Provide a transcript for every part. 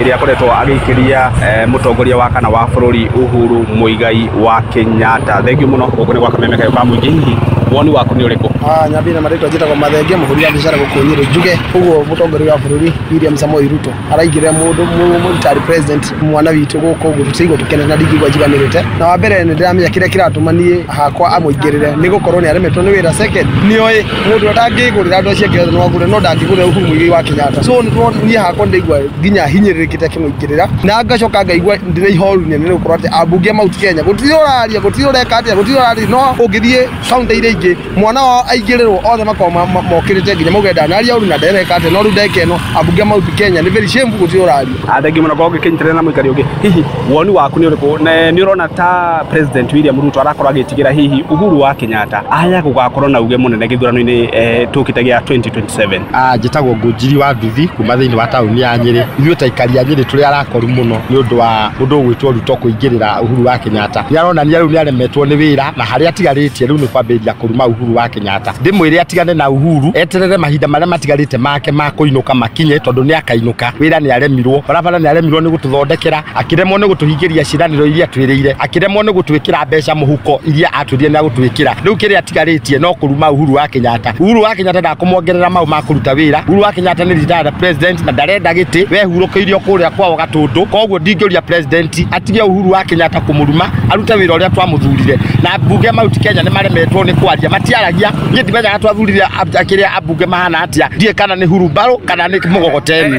Ĩrĩa akoretwo agĩikĩria mũtongoria wa kana wa bũrũri Uhuru Muigai wa Kenyatta. Thengiũ mũno, gũkũ nĩ gwa Kameme Kayũ ka Mũingĩ. Hihi woni waku nĩ ũrĩkũ? Nyambie na marĩtwa, njĩtagwo Mathenge, mũhũri wa biacara gũkũ Nyĩrĩ. Njuge ũguo, mũtongoria wa bũrũri William Samoei Ruto araingĩrĩra mũndũ mũrutari president mwana witũ gũkũ ũguo, tũtigwo tũkenete na ndingĩigua njiganĩrĩte. Na wa mbere, nĩ ndĩramenya kĩrĩa kĩratũma niĩ hakwa amũingĩrĩre nĩ gũkorwo nĩ aremetwo nĩ wĩra. Second, nĩ oĩ mũndũ atangĩgũrĩra andũ acio angĩ othe no agũre, no ndangĩgũrĩra Uhuru Muigai wa Kenyatta. So niĩ hakwa ndĩigua nginya hinyĩrĩrĩkĩte akĩmũingĩrĩra, na ngacoka ngaigua ndĩna ihoru nene nĩ gũkorwo atĩ ambunge a Mount Kenya gũtirĩ ũraria, gũtirĩ ũreka atĩa, gũtirĩ ũraria. No ũngĩthiĩ kaunti iria ingĩ, mwana wao aingĩrĩrwo, othe makorwo mokĩrĩte nginya mauge ndanaria ũru na ndereka atĩa. No rĩu ndagĩka ĩno ambunge a Mount Kenya nĩ very shameful, gũtirĩ ũraria. Thengiũ mũno. Korwo ngĩkĩnyitanĩra na mũikari ũngĩ, hihi woni waku nĩ ũrĩkũ? Nĩ ũrona ta President William Ruto arakorwo agĩtigĩra hihi Uhuru wa Kenyatta aya gũgakorwo na uge mũnene gĩthurano-inĩ tũkĩte gĩa 2027? Njĩtagwo Ngũnjiri wa Nduthi kuma thĩinĩ wa taũni ya Nyĩrĩ. Ithuĩ ta aikari a Nyĩrĩ tũrĩ arakoru mũno nĩ ũndũ wa ũndũ ũgwĩtwo Ruto kũingĩrĩra Uhuru wa Kenyatta. Nĩ aronania rĩu nĩ aremetwo nĩ wĩra, na harĩa atigarĩtie rĩu nĩ kwambĩrĩria kũruma Uhuru wa Kenyatta. Ndĩmwĩre atigane na Uhuru, eterere mahinda marĩa matigarĩte make ma kũinũka makinye, tondũ nĩ akainũka. Wĩra nĩ aremirwo, barabara nĩ aremirwo nĩ gũtũthondekera, akĩremwo nĩ gũtũhingĩria ciĩranĩro iria twĩrĩire, akĩremwo nĩ gũtwĩkĩra mbeca mũhuko iria atwĩrire nĩ agũtwĩkĩra. Rĩu kĩrĩa atigarĩtie no kũruma Uhuru wa Kenyatta. Uhuru wa Kenyatta ndakũmwongerera mau ma kũruta wĩra. Uhuru wa Kenyatta nĩ retired president na ndarenda gĩtĩ, wehurũkĩirio kũrĩa kwao Gatũndũ. Koguo ndingĩũria president atige Uhuru wa Kenyatta kũmũruma, arute wĩra ũrĩa twamũthurire. Na mbunge ya Mount Kenya nĩ maremetwo nĩ kwaria, matiaragia. Niĩ ndimenyaga twathurire kĩrĩa ambunge mahana atĩa, ndiĩ kana nĩ hurumbarũ kana nĩ mũgogoteni.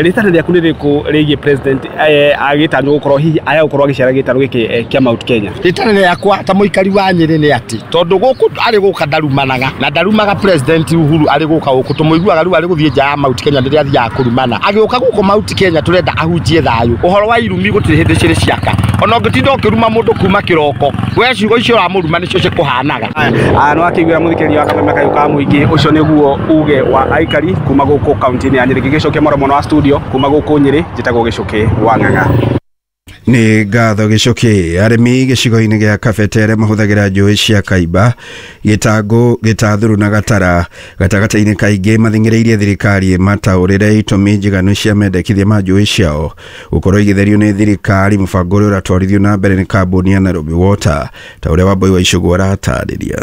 Rĩtana rĩaku nĩ rĩrĩkũ rĩgiĩ president agĩtanywo gũkorwo hihi aya gũkorwo agĩcera gĩtarũ gĩkĩ kĩa Mount Kenya? Rĩtana rĩakwa ta mũikari wa Nyĩrĩ nĩ atĩ tondũ gũkũ arĩ gũka ndarumanaga na ndarumaga President Uhuru. Arĩ gũka gũkũ tũmũiguaga rĩu arĩ gũthiĩ nja ya Mount Kenya rĩrĩa athiaga kũrumana. Agĩũka gũkũ Mount Kenya tũrenda ahunjie thayũ. Ũhoro wa irumi gũtirĩ hĩndĩ cirĩ ciaka. Ona ũngĩtinda ũkĩruma mũndũ kuma kĩroko, we ciugo icio ũramũruma nĩcio cikũhanaga. Nĩ wakĩiguĩra mũthikĩrĩria wa Kameme Kayũ ka Mũingĩ, ũcio nĩguo uge wa aikari kuma gũkũ kaunti-inĩ ya Nyĩrĩ. Ngĩgĩcokia mũromo wa studio kuma gũkũ Nyĩrĩ, njĩtagwo Gĩcũkĩ wa Ng'ang'a. Nĩ ngatho, Gĩcũkĩ. Arĩmi gĩcigo-inĩ gĩa Kabete arĩa mahũthagĩra njũĩ cia Kaimba, Gĩtangũ, Gĩtathuru na Gatara gatagatĩ-inĩ kaingĩ mathing'ĩrĩirie thirikari mataũrĩre itũmi njiganu cia mendekithia ma njũĩ ciao gũkorwo igĩtherio nĩ thirikari, mũbango ũrĩa ũratwarithio na mbere nĩ kambuni ya Nairobi Water, ta ũrĩa Wambui wa Icũgũ aratarĩria.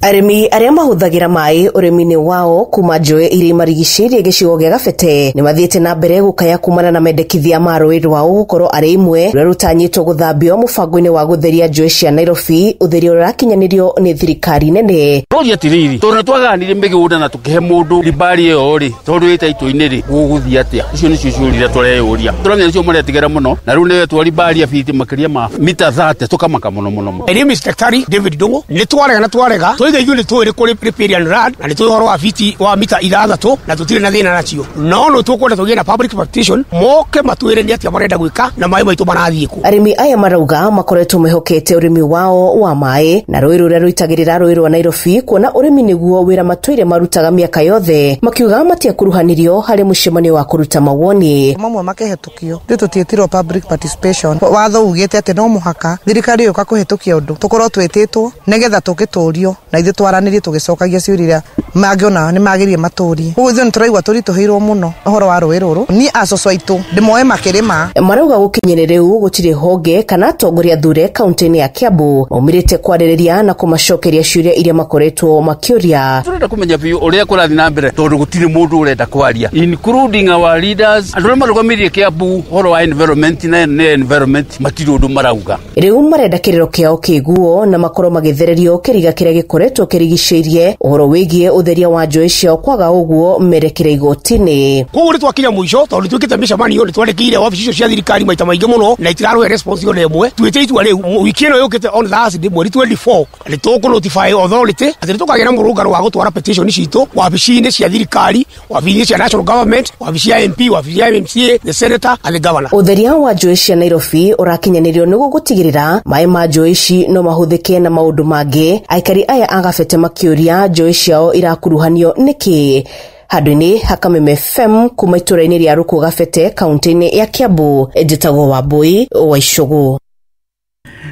Arĩmi arĩa mahũthagĩra maĩ ũrĩmi-inĩ wao kuma njũĩ iria imarigicĩirie gĩcigo gĩa Gabete nĩ mathiĩte na mbere gũkaya kumana na mendekithia ma rũĩ rwao gũkorwo arĩ imwe rũrĩa rũtanyĩtwo gũthambio mũbango-inĩ wa gũtheria njũĩ cia Nairobi, ũtheria ũrĩa ũrakinyanĩrio nĩ thirikari nene. Tũria atĩrĩrĩ, tondũ nĩ twaganire mĩgũnda na tũkĩhe mũndũ ribari ĩyo rĩ, tondũ ĩ taitũ-inĩ rĩ, gũgũthiĩ atĩa? Icio nĩcio ciũria iria tũreyũria. Tũramenya nĩcio maretigĩra mũno, na rĩu nĩ twa ribari ya biti makĩria ma mita 30, tũkamaka mũno mũno mũno. My name is Daktari David Ndung'u. Nĩ twarega na twarega, tũiga ithuĩ nĩ tũĩ nĩ kũrĩ riparian land na nĩ tũĩ ũhoro wa fiti wa mita 6 na tũtirĩ na thĩna nacio, no nĩ tũkwenda tũgĩe na public participation, moke matwĩre nĩ atĩa marenda gwĩka na maĩ maitũ marathiĩ kũ. Arĩmi aya marauga makoretwo mehokete ũrĩmi wao wa maĩ na rũĩ rũrĩa rũitagĩrĩra rũĩ rwa Nairobi, kuona ũrĩmi nĩguo wĩra matũire marutaga mĩaka yothe. Makiuga matiakuruhanirio harĩ mũcemanio wa kũruta mawoni. Mamwe makĩhetũkio, ithuĩ tũtiĩtirwo public participation. Watho ugĩte atĩ no mũhaka thirikari yũka kũhetũkia ũndũ tũkorwo twĩtĩtwo nĩgetha tũgĩtũrio na ithuĩ twaranĩrie tũgĩcokagia ciũria iria mangĩona nĩ magĩrĩire matũrie. Koguo ithuĩ nĩ tũraigua tũritũhĩirwo mũno ũhoro wa rũĩ rũrũ. Niĩ acũcũ aitũ ndĩmoe makĩrĩma. Marauga gũkinyĩrĩ rĩu gũtirĩ honge kana atongoria thure kaunti-inĩ ya Kiambu maumĩrĩte kwarĩrĩria na kũmacokeria ciũria iria makoretwo makĩũria. Turenda kũmenya biũ ũrĩa kũrathiĩ na mbere, tondũ gũtirĩ mũndũ ũrenda kwaria, including our leaders, andũ arĩa marũgamĩrĩire Kiambu ũhoro wa environment na nĩ environment, matirĩ ũndũ marauga. Rĩu marenda kĩrĩro kĩao kĩiguo na makorwo magĩthererio kĩriga kĩrĩa gĩkoretwo kĩrigicĩirie ũhoro wĩgiĩ ũtheria wa njũĩ ciao, kwaga ũguo merekere igoti-inĩ. Koguo nĩ twakinya mũico, tondũ nĩ twĩkĩte mĩcemanio, nĩ twandĩkĩire wabici icio cia thirikari maita maingĩ mũno na itirarũhe response ona ĩmwe. Tuĩte itua rĩu wiki ĩno yũkĩte, on Thursday mweri 24, nĩ tũkũ notify authority atĩ nĩ tũkagĩa na mũrũngano wa gũtwara petition citũ wabici-inĩ cia thirikari, wabici-inĩ cia national government, wabici ya MP, wabici ya MCA, the senator and the governor. Ũtheria wa njũĩ cia Nairobi ũrakinyanĩrio nĩguo gũtigĩrĩra maĩ ma njũĩ ici no mahũthĩke na maũndũ mangĩ. Aikari aya a Gabete makĩũria njũĩ ciao irakuruhanio nĩkĩ. Handũ-inĩ ha Kameme FM kuma itũũra-inĩ rĩa Rũkũ Gabete, kaunti-inĩ ya Kiambu, njĩtagwo Wambui wa Icũgũ.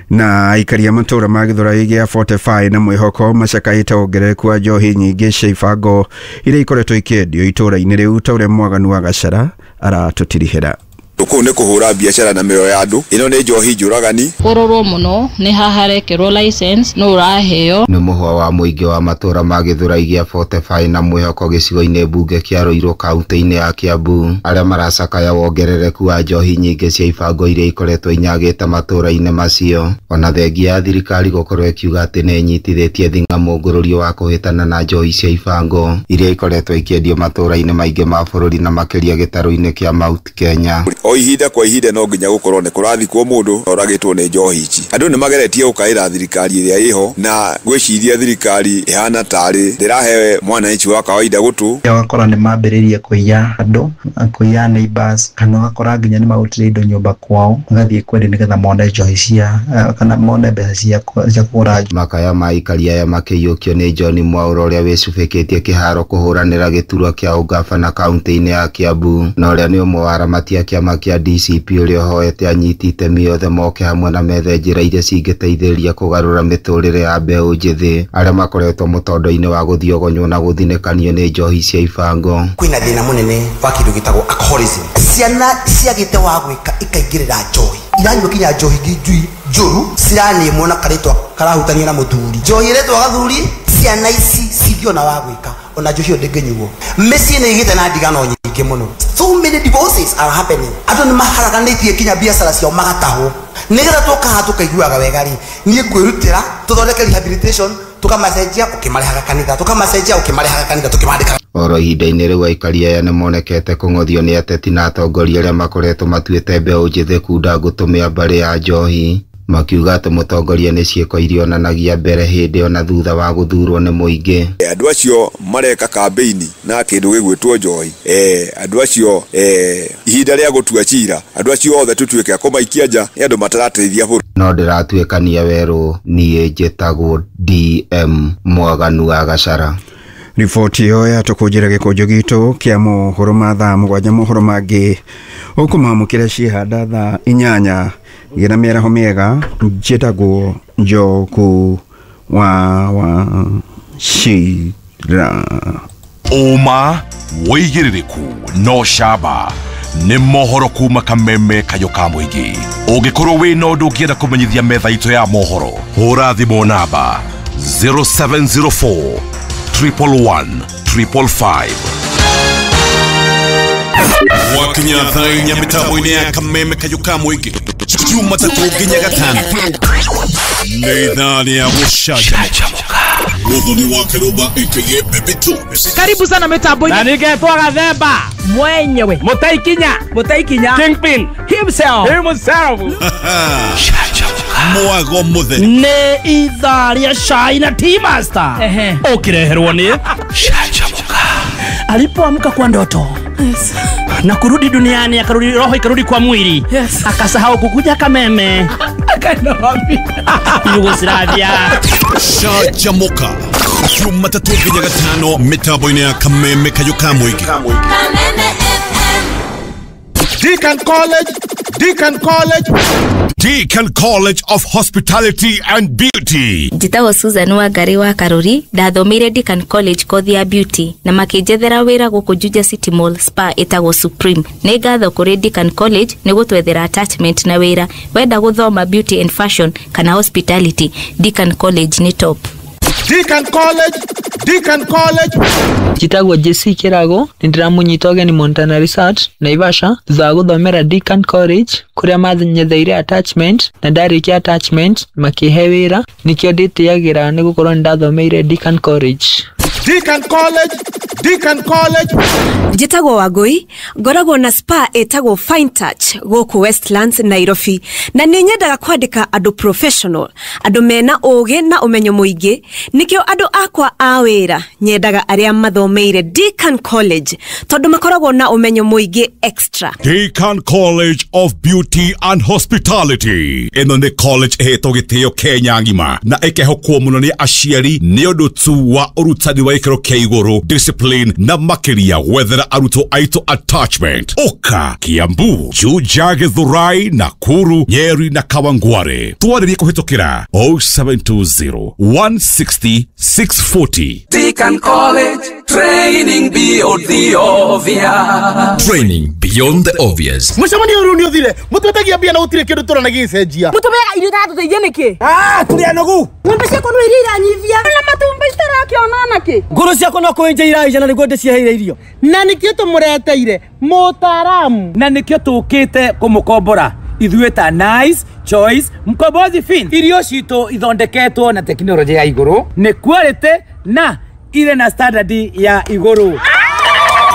Na aikari a matũũra ma Gĩthũrai gĩa 45 na Mwĩhoko macakaĩte wongerereku wa njohi nyingĩ cia ibango iria ikoretwo ikĩendio itũũra-inĩ rĩu, ta ũrĩa Mwaganu wa Gacara aratũtirihĩra. Kũu nĩ kũhũra biacara na mĩoyo ya andũ. Ĩno nĩ njohi njũragani. Kũrorwo mũno nĩ haharekerwo license no ũraheo. Nĩ mũhwa wa mũingĩ wa matũra ma Gĩthũrai gĩa 45 na mwĩhoko gĩcigo-inĩ mbunge kĩa Ruiru kaunti-inĩ ya Kiambu arĩa maracakaya wongerereku wa njohi nyingĩ cia ibango iria ikoretwo inyagĩte matũra-inĩ macio. Ona thengia ya thirikari gũkorwo ĩkiuga atĩ nĩ ĩnyitithĩtie thing'a mũngũrũrio wa kũhĩtana na njohi cia ibango iria ikoretwo ikĩendio matũra-inĩ maingĩ ma bũrũri na makĩria gĩtarũ-inĩ kĩa Mount Kenya. O ihinda kwa ihinda no nginya gũkorwo nĩ kũrathikwo mũndũ oragĩtwo nĩ njohi ici. Andũ nĩ mageretie gũkaĩra thirikari ĩrĩa ĩho na gwĩciria thirikari ĩhana tarĩ ndĩrahe mwananchi wa kawaida gũtũ. Ũgakora nĩ mambĩrĩria kũiya andũ, kũiya neighbors, kana ũgakora nginya nĩ marutire indo nyũmba kwao magathiĩ kwendia nĩgetha mone njohi cia kana mone mbeca cia kũgũra. Makaya ma aikari aya makĩiyũkio nĩ John Mwaũra ũrĩa wĩcubĩkĩtie kĩharo kũhũranĩra gĩturwa kĩa ũngabana kaunti-inĩ ya Kiambu na ũrĩa nĩ ũmwe wa aramati a kĩama kĩa DCP ũrĩa ũhoete anyiti itemi othe moke hamwe na methe njĩra iria cingĩteithĩrĩria kũgarũra mĩtũrĩre ya mbeũ njĩthĩ arĩa makoretwo mũtondo-inĩ wa gũthiogonywo na gũthinĩkanio nĩ njohi cia ibango. Kwĩna thĩna mũnene wa kĩndũ gĩtagwo alcoholism. Ciana ciagĩte wa gwĩka ikaingĩrĩra njohi, iranyua kinya njohi njui njũru ciranĩmwo na karĩtwa karahutania na mũthuri, njohi ĩretwo gathuri. Ciana ici cingĩona wa gwĩka ona njohi ĩyo ndĩngĩnyuo. Mĩciĩ nĩ ĩgĩte na ndigano nyingĩ mũno. So many divorces are happening. Andũ nĩ maharaganĩtie kinya biacara ciao magatahwo. Nĩgetha twoka haha tũkaiguaga wega rĩ, niĩ ngwĩrutĩra tũthondeke rehabilitation, tukamacenjia ũkĩmarehaga kanitha, tukamacenjia ũkĩmarehaga kanitha, tukĩmandĩkaga. Oro ihinda-inĩ rĩu aikari aya nĩmonekete kũng'othio nĩ ateti na atongoria arĩa makoretwo matuĩte mbeũ njĩthĩ kunda ngũtũmĩa mbarĩ ya njohi, makiuga atĩ mũtongoria nĩ ciĩko iria onanagia mbere hĩndĩ ona thutha wa gũthurwo nĩ mũingĩ. Andũ acio mareka kambĩini na kĩndũ gĩgwĩtwo njohi. Andũ acio ihinda rĩa gũtua cira, andũ acio othe tũtuĩke a kũmaikia nja nĩ andũ matarateithia bũrũri. No ndĩratuĩkania werũ, niĩ njĩtagwo DM Mwaganu wa Gacara. Riboti ĩyo yatũkũnjĩra gĩkũnjo gitũ kĩa mohoro ma thaa 7 mohoro mangĩ ũkũmamũkĩra ciĩhanda thaa 8 gĩna mĩaraho mĩega. Njĩtagwo Njoku wa Wachira. Ũma wĩigĩrĩrĩku no camba nĩ mohoro kuma Kameme Kayũ ka mũingĩ. Ũngĩkorwo wĩna ũndũ ũngĩenda kũmenyithia metha itũ ya mohoro, hũra thimũ namba 0704 111 555. Wakinya thaa 4 mĩtambo-inĩ ya Kameme Kayũ ka mũingĩ Jumatatũ nginya Gatano nĩ ithaa rĩa gũcanjamũka. Muthoni wa Kĩrũmba aka Baby Tubes. Karibu sana mitambo-inĩ. Na ningetwo Gathemba mwenyewe, Mũtaikinya Kingpin himself. Mwago mũtheri nĩ ithaa rĩa cai na tea master ũkĩreherwo nĩ Canjamũka. Alipoamka kwa ndoto, yes, na kurudi duniani, akarudi roho ikarudi kwa mwili, yes, akasahau kukuja Kameme akaenda wapi? Yugoslavia. Canjamũka Jumatatũ nginya Gatano mĩtambo-inĩ ya Kameme Kayũ ka mũingĩ. Kameme FM. Deacon College, Deacon College, Deacon College of Hospitality and Beauty. Njĩtagwo Susan Wangari wa Karuri, ndathomeire Deacon College kothi ya beauty na makĩnjethera wĩra gũkũ Juja City Mall Spa ĩtagwo Supreme. Nĩ ngatho kũrĩ Deacon College nĩ gũtwethera attachment na wĩra. Wenda gũthoma beauty and fashion kana hospitality, Deacon College nĩ top. Deacon College, Deacon College. Njĩtagwo JC Kĩrago, nĩ ndĩramũnyita ũgeni Montana Resort, Naivasha, thutha wa gũthomera Deacon College kũrĩa manyetheire attachment na ndarĩkia attachment makĩhe wĩra, nĩkĩo ndĩtĩagĩra nĩ gũkorwo nĩ ndathomeire Deacon College. Deacon College, Deacon College. Njĩtagwo Wangũi, ngoragwo na spa ĩtagwo Fine Touch gũkũ Westlands Nairobi, na nĩ nyendaga kwandĩka andũ professional, andũ mena ũgĩ na ũmenyo mũingĩ. Nĩkĩo andũ akwa a wĩra nyendaga arĩa mathomeire Deacon College tondũ makoragwo na ũmenyo mũingĩ extra. Deacon College of Beauty and Hospitality. Ĩno nĩ college ĩhetwo gĩtĩo Kenya ng'ima na ĩkehokwo mũno nĩ aciari nĩ ũndũ tu wa ũrutani wa gĩkĩro kĩa igũrũ, discipline counseling na makĩria gwethera arutwo aitũ attachment. Ũka Kiambu, Juja, Githurai, Nakuru, Nyeri na Kawangware. Twarĩrie kũhĩtũkĩra 0720 160 640. Deakin College, training beyond the obvious. Training beyond the obvious. Mũcemanio ũyũ nĩ ũthire mũtwetagia mbia na gũtirĩ kĩndũ tũrona gĩgĩcenjia. Mũtũmeaga irio itatũteithia nĩkĩ? Tũrĩ anogu. Ng'ombe ciakwa no iria iranyivia na matumbĩ itarakĩona nakĩ. Ngũrũ ciakwa no kũenja iraija na nĩguo ndĩciheire irio. Na nĩkĩo tũmũreteire mũtaaramu. Na nĩkĩo tũkĩte kũmũkombora ithuĩ ta Nice Choice Mkombozi Fin. Irio citũ ithondeketwo na tekinoronjĩ ya igũrũ, nĩ quality na irĩ na standard ya igũrũ.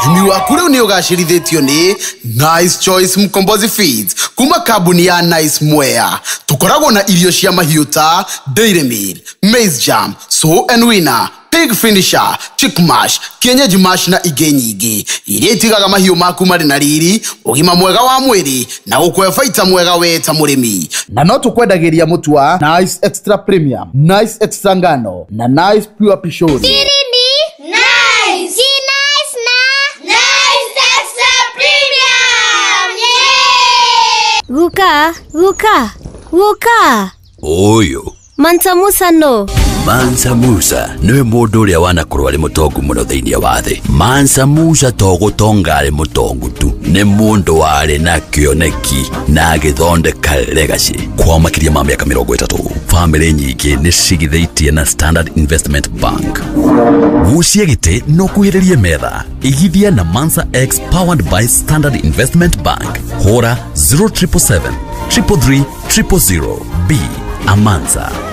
Ũrĩmi waku rĩu nĩ ũgacĩrithĩtio nĩ Nice Choice Mkombozi Feeds kuma kambuni ya Nice Mwea. Tũkoragwo na irio cia mahiũ ta Dairy Meal, Maize Jam, Sow and Winner, Pig Finisher, Chick Mash, Kienyeji Mash na ingĩ nyingĩ iria itigaga mahiũ maku marĩ na riri, ũgima mwega wa mwĩrĩ na gũkũhe baita mwega we ta mũrĩmi. Na no tũkwendagĩria mũtu wa Nice Extra Premium, Nice Extra Ngano na Nice Pure Pishori. Siri ni Nice. Si nice na Nice Extra Premium. Yeah! Guka, guka, guka. Ũyũ Mansa Musa no. Mansa Musa niwe mũndũ ũrĩa wanakorwo arĩ mũtongu mũno thĩinĩ wa thĩ. Mansa Musa to gũtonga arĩ mũtongu tu, nĩ mũndũ warĩ na kĩoneki na agĩthondeka legacy. Kwa makĩria ma mĩaka 30, bamĩrĩ nyingĩ nĩ cigithĩtie na Standard Investment Bank. Gucia gĩtĩ no kuhĩrĩrie metha. Igithia na Mansa X powered by Standard Investment Bank. Hũra 0777 333 000. B Amansa.